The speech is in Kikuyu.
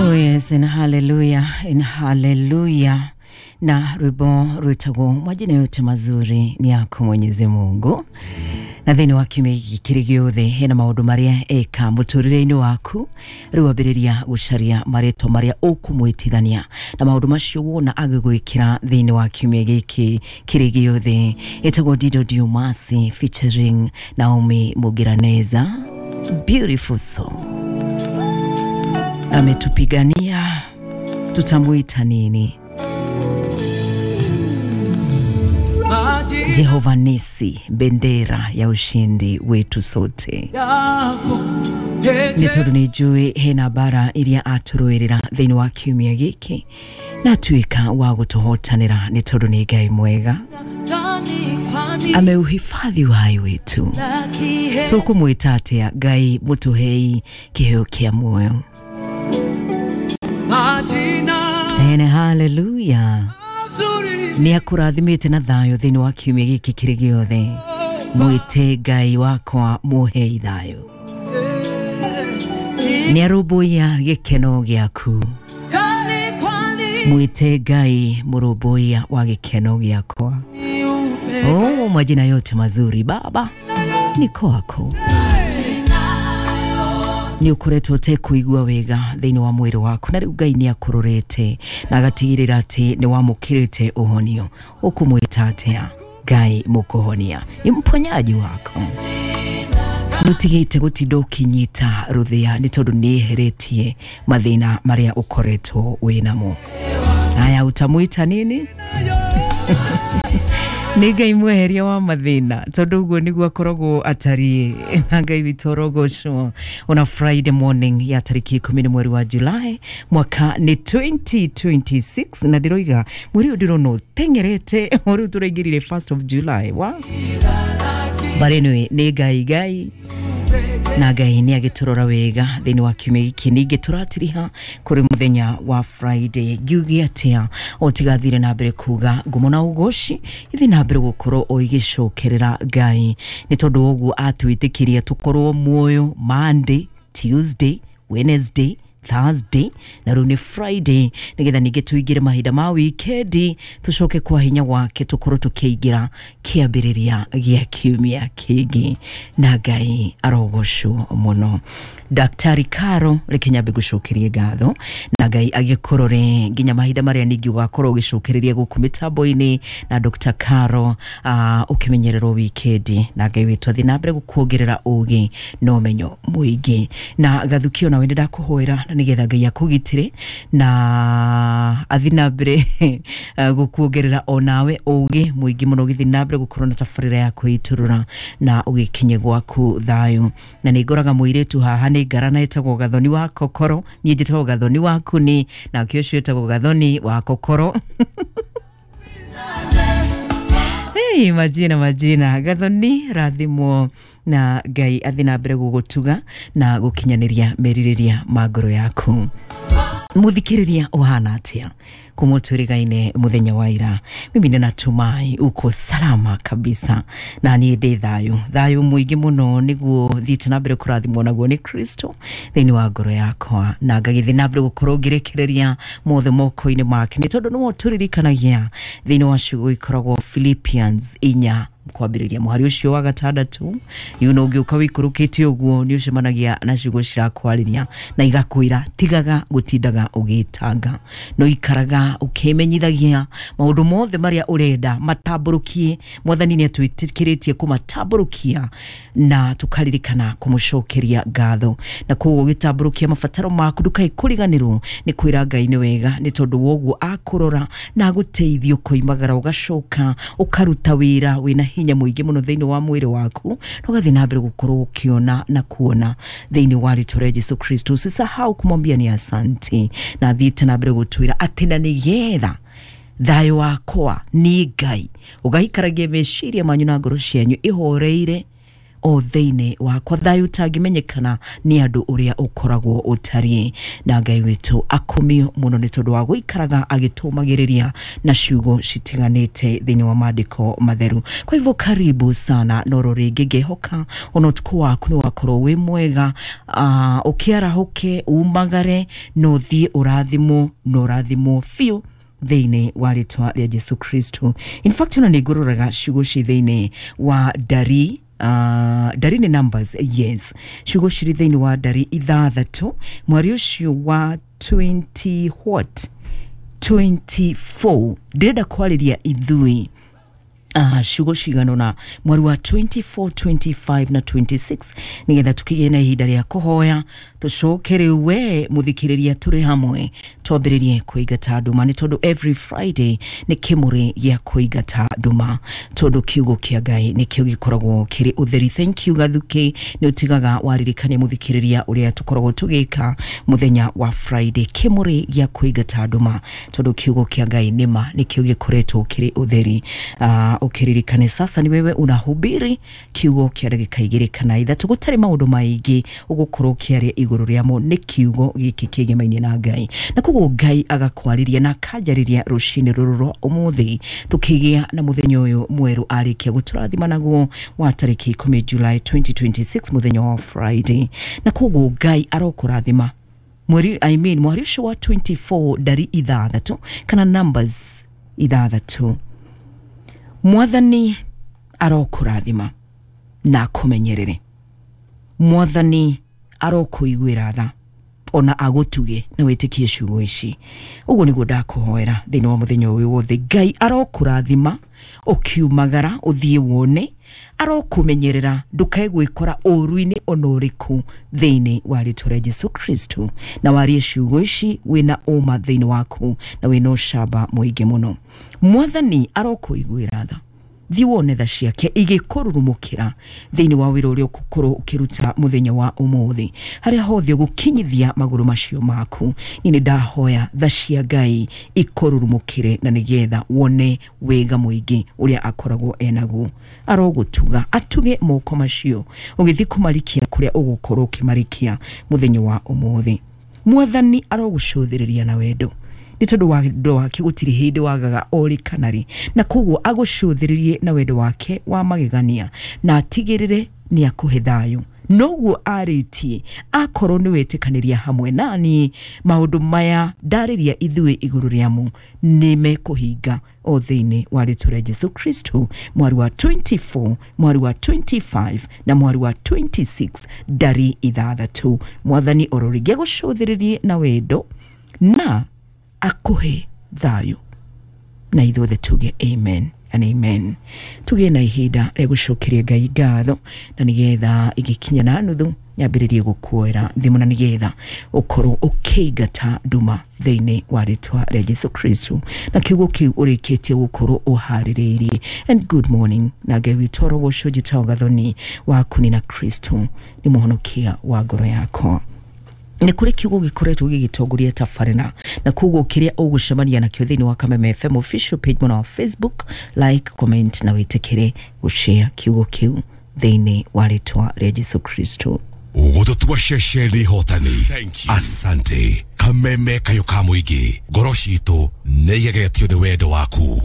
Oh yes, and hallelujah, and hallelujah. Na rwimbo rwitagwo majina yote mazuri ni yako Mwenyezi Mungu. Na thĩinĩ wa kiumia gĩkĩ kĩrĩ gĩothe hena maũndũ marĩa eka mũtũrĩre-inĩ waku. Rĩu ambĩrĩria gũcaria marĩtwa marĩa ũkũmwĩtithania na maũndũ macio wona agĩgwĩkĩra thĩinĩ wa kiumia gĩkĩ kĩrĩ gĩothe. Ĩtagwo Dido Diomasi featuring Naomi Mugiraneza. Beautiful song. Ametupigania, tutamuita nini? Jehova Nisi, bendera ya ushindi wetu sote. Nĩ tondũ nĩ njũĩ hena mbara iria atũrũĩrĩra thĩinĩ wa kiumia gĩkĩ na atuĩka wa gũtũhotanĩra, nĩ tondũ nĩ Ngai mwega, ameuhifadhi uhai wetu. Tũkũmwĩta atĩa Ngai mũtũhei kĩheo kĩa muoyo? Ene hallelujah. Nĩ akũrathimĩte na thayũ thĩinĩ wa kiumia gĩkĩ kĩrĩ gĩothe. Mwĩte Ngai wakwa mũhei thayũ. Nĩ arũmbũiya gĩkeno gĩaku. Mwĩte Ngai mũrũmbũiya wa gĩkeno gĩakwa. Oh, majina yote mazuri Baba ni kwako. Nĩ ũkoretwo ũtekũigua wega thĩinĩ wa mwĩrĩ waku, na rĩu Ngai nĩ akũrorete na agatigĩrĩra atĩ nĩ wamũkĩrĩte ũhonio. Ũkũmwĩta atĩa Ngai mũkũhonia? Ni mponyaji wako. Nĩũtigĩte gũtinda ũkĩnyita rũthĩa nĩ tondũ nĩ eheretie mathĩna marĩa ũkoretwo wĩnamo. Haya, utamwita nini? Nĩ Ngai mweheria wa mathĩna, tondũ ũguo nĩguo akoragwo atariĩ. Na Ngai witũ orogocwo. Ona Friday morning ya tarĩki 10 mweri wa July mwaka nĩ 2026, na ndĩroiga mweri ũyũ ndĩrona ũteng'erete, o rĩu tũraingĩrire 1st of July wa. But anyway, nĩ Ngai Ngai na Ngai nĩ agĩtũrora wega thĩinĩ wa kiumia gĩkĩ. Ningĩ tũratiriha kũrĩ mũthenya wa Friday. Ngiuge atĩa o tigathire na mbere kuga ngumo na ũgoci ithi na mbere gũkorwo o igĩcokerera Ngai, nĩ tondũ wa ũguo atwĩtĩkirie tũkorwo muoyo Monday, Tuesday, Wednesday, Thursday na rĩu nĩ Friday, nĩgetha ningĩ tũingĩre mahinda ma wikendi, tũcoke kwa hinya wake tũkorwo tũkĩingĩra kĩambĩrĩria gĩa kiumia kĩngĩ, na Ngai arogocwo mũno. Daktari Karo, reke nyambe gũcokerie ngatho na Ngai agĩkũrore nginya mahinda marĩa ningĩ ũgakorwo ũgĩcokereria gũkũ mĩtambo-inĩ na Dr. Karo, ũkĩmenyererwo wikendi, na Ngai witũ athiĩ na mbere gũkuongerera ũgĩ na ũmenyo mũingĩ. Na Gathukio, nawe nĩ ndakũhoera na nĩgetha Ngai akũgitĩre na athiĩ na mbere gũkuongerera onawe ũgĩ mũingĩ mũno, ũgĩthiĩ na mbere gũkorwo na tabarĩra ya kwĩitũrũra na ũgĩkinye gwaku thayũ. Na nĩ ngoraga mũirĩtu haha nĩ ngarana ĩtagwo Gathoni wa Kokoro, niĩ njĩtagwo Gathoni wa Kuni, nake ũcio ĩtagwo Gathoni wa Kokoro. Hey, majina majina. Gathoni, rathimwo na Ngai athiĩ na mbere gũgũtuga na gũkinyanĩria merirĩria ma ngoro yaku. Mũthikĩrĩria ũhana atĩa kuma twĩrĩgaine mũthenya wa ira? Mimi ninatumai uko salama kabisa, na niĩ ndĩ thayũ, thayũ mũingĩ mũno, nĩguo thiĩte na mbere kũrathimwo naguo nĩ Kristo thĩinĩ wa ngoro yakwa, na ngagĩthiĩ na mbere gũkorwo ngĩrekereria mothe moko-inĩ make, nĩ tondũ nĩwe ũtũririkanagia thĩinĩ wa ciugo ikoragwo Philippians 4 kwambĩrĩria mũhari ũcio wa 6. Yuno ũngĩũka wĩikũrũkĩte ũguo nĩ ũcemanagia na ciugo cirakwarĩria na igakwĩra tigaga gũtindaga ũgĩtanga, no ikaraga ũkĩmenyithagia maũndũ mothe marĩa ũrenda matambũrũkie. Mwathani nĩ atwĩtĩkĩrĩtie kũmatambũrũkia na tũkaririkana kũmũcokeria ngatho, na koguo ũgĩtambũrũkia mabataro maku ndũkae kũriganĩrwo nĩ kwĩra Ngai nĩ wega, nĩ tondũ wa ũguo akũrora na agũteithia ũkoimagara ũgacoka ũkaruta wĩra wĩna hinya mũingĩ mũno thĩinĩ wa mwĩrĩ waku, na ũgathiĩ na mbere gũkorwo ũkĩona na kuona thĩinĩ wa rĩtwa rĩa Jesu Kristo. Usisahau kumwambia ni asante, na athiĩte na mbere gũtwĩra atĩ na nĩgetha thayũ wakwa nĩ Ngai ũgaikaragia meciria manyu na ngoro cianyu ihoreire o thĩinĩ wakwa, thayũ ũtangĩmenyekana nĩ andũ ũrĩa ũkoragwo ũtariĩ. Na Ngai witũ akumio mũno nĩ tondũ wa gũikaraga agĩtũmagĩrĩria na ciugo citiganĩte thĩinĩ wa maandĩko matheru. Kwa hivyo karibu sana noro rĩngĩ, ngĩhoka ona ũtukũ waku nĩ wakorwo wĩ mwega. Ũkĩarahũke umagare na ũthiĩ ũrathimwo na ũrathimwo biũ thĩinĩ wa rĩtwa rĩa Jesu Kristo. In fact ona nĩ ngũroraga ciugo ci thĩinĩ wa ndari, ndari nĩ numbers, yes, ciugo cirĩ thĩinĩ wa ndari 6 mweri ũcio wa 20 what 24. Ndĩrenda kwarĩria ithui ciugo cigana ũna mweri wa 24, 25 na 26 nigetha tukigĩe na ihinda rĩa kũhoya, tũcoke rĩu we mũthikĩrĩria tũrĩ hamwe twambĩrĩrie kũingata nduma, nĩ tondũ every Friday nĩ kĩmũrĩ gĩa kũingata nduma, tondũ kiugo kĩa Ngai nĩkĩo gĩkoragwo kĩrĩ ũtheri. Thank you Gathuki, nĩ ũtigaga waririkania mũthikĩrĩria ũrĩa tũkoragwo tũgĩka mũthenya wa Friday, kĩmũrĩ gĩa kũingata nduma, tondũ kiugo kĩa Ngai nĩma nĩkĩo gĩkoretwo kĩrĩ ũtheri. Ũkĩririkane sasa ni wewe unahubiri kiugo kĩa ndagĩka 2 kana 3, gũtarĩ maũndũ maingĩ ũgũkorwo ũkĩaria igũrũ rĩamo, nĩ kiugo gĩkĩ kĩgemaine na Ngai, na koguo Ngai agakwarĩria na akanjarĩria rũcinĩ rũrũ rwa ũmũthĩ, tũkĩgĩa na mũthenya ũyũ mwerũ arĩkia gũtũrathima naguo wa tarĩki 10 July 2026, mũthenya wa Friday. Na koguo Ngai arokũrathima mweri, I mean mweri ũcio wa 24 ndari 6 kana numbers 6. Mwathani arokũrathima na akũmenyerere, Mwathani arokũiguĩra tha ona agũtuge na wĩtĩkie ciugo ici. Ũguo nĩguo ndakũhoera thĩinĩ wa mũthenya ũyũ wothe. Ngai arokũrathima ũkiumagara ũthiĩ wone, arokũmenyerera ndũkae gwĩkora ũru-inĩ ona ũrĩkũ thĩinĩ wa rĩtwa rĩa Jesu Kristo, na warie ciugo ici wĩna ũma thĩinĩ waku na wĩna ũcamba mũingĩ mũno. Mwathani arokũiguĩra tha, thiĩ wone tha ciake igĩkũrurumũkĩra thĩinĩ wa wĩra ũrĩa ũgũkorwo ũkĩruta mũthenya wa ũmũthĩ, harĩa hothe ũgũkinyithia magũrũ macio maku. Niĩ nĩ ndahoya tha cia Ngai ikũrurumũkĩre na nĩgetha wone wega mũingĩ ũrĩa akoragwo enaguo. Arogũtuga, atuge moko macio ũgĩthiĩ kũmarikia kũrĩa ũgũkorwo ũkĩmarikia mũthenya wa ũmũthĩ. Mwathani arogũcũthĩrĩria na wendo, nĩ tondũ wendo wake gũtirĩ hĩndĩ wagaga orĩ kana rĩ, na koguo agũcũthĩrĩrie na wendo wake wa magegania na atigĩrĩre nĩ akũhe thayũ. Noguo arĩtie akorwo nĩ wetĩkanĩria hamwe nani maũndũ maya ndarĩria ithuĩ igũrũ rĩamo nĩ mekũhinga o thĩinĩ wa rĩtwa rĩa Jesu Kristo, mweri wa 24, mweri wa 25 na mweri wa 26 ndari 6. Mwathani oro rĩngĩ agũcũthĩrĩrie na wendo na akuhe thayũ, na ithuothe tuge amen and amen. Tugĩe na ihinda rĩa gũcokeria Ngai ngatho, na nĩgetha igĩkinya na nuthu nyambĩrĩrie gũkuoera thimũ, na nĩgetha ũkorwo ũkĩingata nduma thĩinĩ wa rĩtwa rĩa Jesu Kristo, na kiugo kĩu ũrĩkĩtie gũkorwo ũharĩrĩirie. And good morning, na Ngai witũ arogocwo. Njĩtagwo Gathoni waku nĩ na Kristo nĩ mũhonokia wa ngoro yakwa. Nĩ kũrĩ kiugo gĩkoretwo gĩgĩtongoria tabarĩra, na koguo kĩrĩa ũgũcemania nakĩo thĩinĩ wa Kameme FM official page mwena wa Facebook, like, comment na wĩtĩkĩre gũshare kiugo kĩu thĩinĩ wa rĩtwa rĩa Jesu Kristo. Gũtũtua ceceni hotani. Asante Kameme kayũ ka mũingĩ, ngoro citũ nĩ igegetio nĩ wendo waku.